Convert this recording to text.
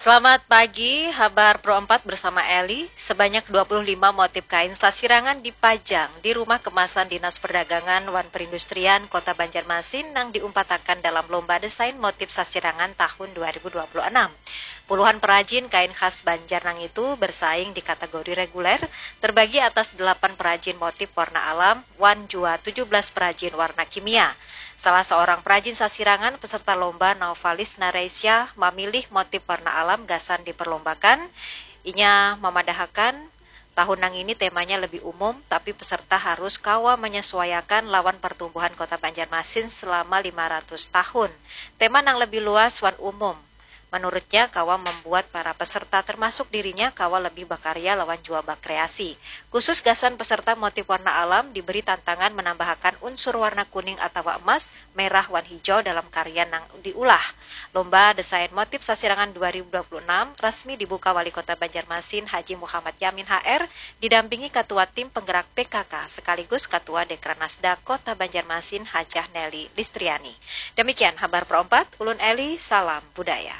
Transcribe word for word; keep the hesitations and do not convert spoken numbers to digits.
Selamat pagi, Habar Pro empat bersama Eli. Sebanyak dua puluh lima motif kain sasirangan dipajang di Rumah Kemasan Dinas Perdagangan wan Perindustrian Kota Banjarmasin nang diumpatakan dalam Lomba Desain Motif Sasirangan tahun dua ribu dua puluh enam. Puluhan perajin kain khas Banjar nang itu bersaing di kategori reguler, terbagi atas delapan perajin motif warna alam, wan jua tujuh belas perajin warna kimia. Salah seorang perajin sasirangan peserta lomba, Naufalis Nareisya, mamilih motif warna alam gasan diperlombakan. Inya mamadahakan, tahun nang ini temanya lebih umum, tapi peserta harus kawa menyesuaiakan lawan pertumbuhan Kota Banjarmasin selama lima ratus tahun. Tema nang lebih luas wan umum, menurutnya, kawa membuat para peserta, termasuk dirinya, kawa lebih bakarya lawan jua bakreasi. Khusus gasan peserta motif warna alam, diberi tantangan menambahakan unsur warna kuning atawa emas, merah, wan hijau dalam karya nang diulah. Lomba Desain Motif Sasirangan dua ribu dua puluh enam resmi dibuka Wali Kota Banjarmasin Haji Muhammad Yamin H R, didampingi Ketua Tim Penggerak P K K sekaligus Ketua Dekranasda Kota Banjarmasin Hajah Nelly Listriani. Demikian Habar Pro empat, ulun Eli, salam budaya.